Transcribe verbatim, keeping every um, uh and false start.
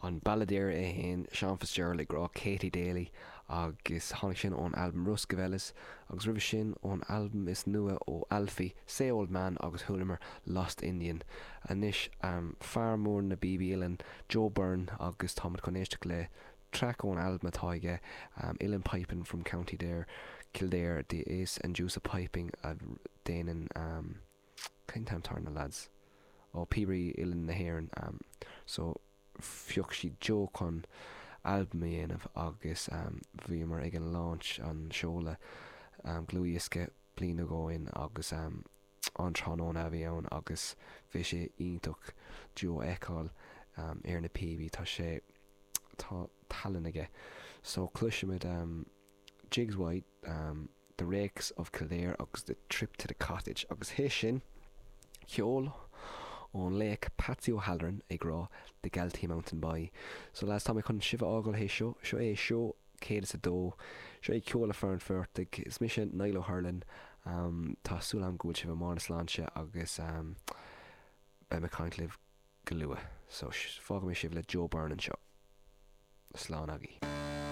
An balladeer é féin, Seán Fitzgerald, ag rá Katie Daly agus tháinig sin ón albam Roscavellas, agus roimhe sin ón albam is nua ó Alfie, Say Old Man, agus chualamar Lost Indian. Anois fear mór na bpíobaí uilleann, Joe Byrne, agus táimid chun éisteacht le traic ón albam atá aige, Uilleann Piping from County Dare, Kildare, The Ace and Deuce of Piping, a déanann, cén t-ainm atá ar na lads? Ó, Píobairí Uilleann na hÉireann. So phioc siad Joe chun albam a dhéanamh agus bhíomar ag an launch, an seoladh dlúthdhiosca, bliain ó shin agus an tráthnóna a bhí ann agus bhí sé iontach Joe a fheiceáil ar na píobaí, tá sé, tá tallann aige. So cloisfimid Jiggs White, The Rakes of Kildare agus The Trip to the Cottage agus théis sin ceol ón laoch Patsy O'Halloran ag rá The Galtee Mountain Boy. So lads, tá mé chun sibh a fhágáil théis seo, seo é seó céad is a dó, seo é Ceol le Fear an Phortaigh, is mise Niall Ó hUrlain, tá súil agam go bhfuil sibh i mbarr na sláinte agus beidh mé ag caint libh go luath. So fágfaidh mé sibh le Joe Byrne anseo. Slán agaibh.